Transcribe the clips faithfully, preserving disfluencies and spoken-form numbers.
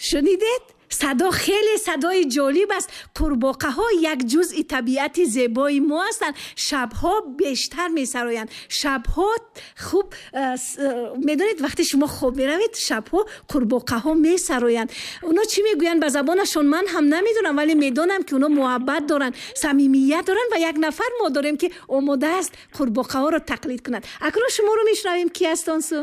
Шунидед? Садо хеле садои ҷолиб аст. Қурбоқаҳо як ҷузъи табиати зебои мо ҳастанд. Шабҳо бештар месароянд. Шабҳо хуб, э, э, медонед, вақте шумо хоб меравед, шабҳо қурбоқаҳо месароянд. Оно чӣ мегӯянд ба забонашон, ман ҳам намедонам, вале медонам, ки оно муҳаббат доранд, самимият доранд. Ва як нафар мо дорем, ки омода аст қурбоқаҳоро тақлид кунад. Акнун шуморо мешунавем. Ки аст он су?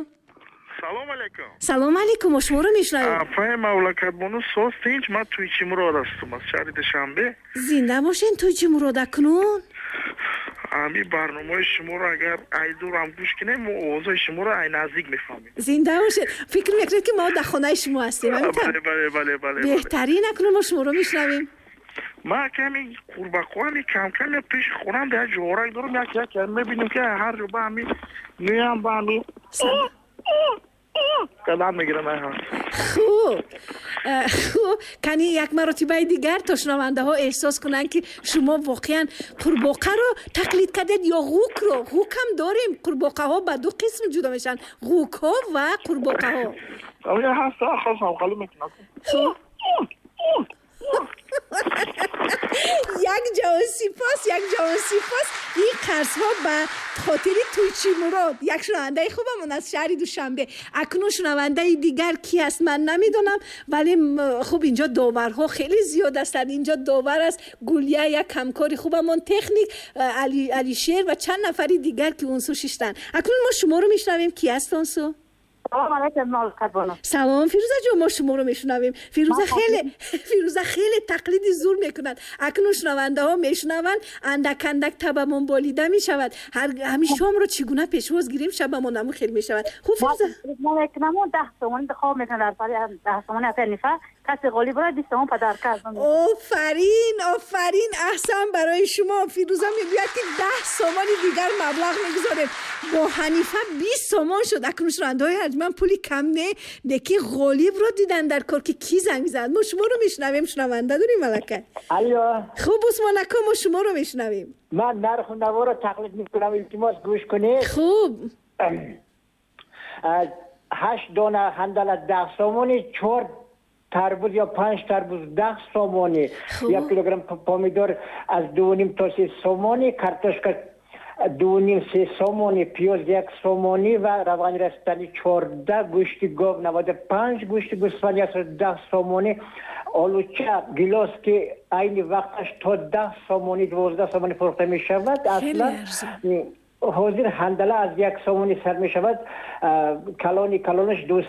Салом алейкум. Салом алейкум, мо шуморо мешунавем. Апаи Мавлакатбону, соз, тинч? Ман Туйчи Мурод ҳастам аз шаҳри Душанбе. Зинда бошен, Туйчи Мурод. Акнун Ҳамин барномаи шуморо агар ай дурам гӯш кунем, мо овозҳои шуморо ай наздик мефаҳмем. Зинда бошед. Фикр мекунед, ки мо дар хонаи шумо ҳастем? Бале, бале, бале, бале. Беҳтарин. Акнун мо шуморо мешунавем. Ман ками қурбақоами камкам пеши хонам дар ҷуворак дорам, як як мебинем, ки ҳар ҷо ба ҳами меям, ба ҳами қадам мегирам. Хуб, э, хуб, кани як маротибаи дигар, то шунавандаҳо эҳсос кунанд, ки шумо воқеан қурбоқаро тақлид кардед ё ғукро. Ғукам дорем. Қурбоқаҳо ба ду қисм ҷудо мешаванд: ғукҳо ва қурбоқаҳо. Хуб, як ҷавон сипос, як ҷавон сипос. Ин қарзҳо ба хотири Туйчи Мурод, як шунавандаи хубамон аз шаҳри Душанбе. Акнун шунавандаи дигар ки аст, ман намедонам, вале хуб, инҷо доварҳо хеле зиёд ҳастанд. Инҷо довар аст Гулия, як ҳамкори хубамон, техник Алишер ва чанд нафари дигар, ки он су шиштанд. Акнун мо шуморо мешунавем. Ки аст он су? Салом алейкум, Мавлакатбону. Салом, Фирӯза ҷон, мо шуморо мешунавем. Фирӯза хеле, Фирӯза хеле тақлиди зур мекунад. Акнун шунавандаҳо мешунаванд, андак андак табамон болида мешавад. Ҳамин шомро чӣ гуна пешвоз гирем, шабамон ҳамун хел мешавад. Хуб, Фирӯза. Мекунаму даҳ сомонӣ интихоб мекунам дар пари даҳ сомонӣ апаи Ҳанифа. Касе ғолиб бурад, бист сомон подарка аз ман. Офарин, офарин, аҳсан барои шумо. Фирӯза мегӯяд, ки даҳ сомони дигар маблағ мегузорем. Бо Ҳанифа бист сомон шуд. Акнун шунавандаҳои арҷманд, пули кам не, лекин ғолибро дидан дар кор, ки кӣ занг мезанад. Мо шуморо мешунавем. Шунаванда дорем аллакай. Алло. Хуб, Усмон ако, мо шуморо мешунавем. Ман нарху наворо тақлид мекунам, илтимос, гӯш кунед. Хуб. Ҳашт дона ҳандала даҳ сомонӣ, чор тарбуз ё панҷ тарбуз даҳ сомонӣ, як килограмм помидор аз дувним то се сомонӣ, картошка дувним се сомонӣ, пиёз як сомонӣ ва равғани растанӣ чорда, гӯшти гов наводу панҷ, гӯшти гӯсфанд яксаду даҳ сомонӣ, олуча, гилос, ки айни вақташ то даҳ сомонӣ, дувоздаҳ сомонӣ фурӯхта мешавад. Аслан ҳозир ҳандала аз як сомонӣ сар мешавад, калони калонаш ду.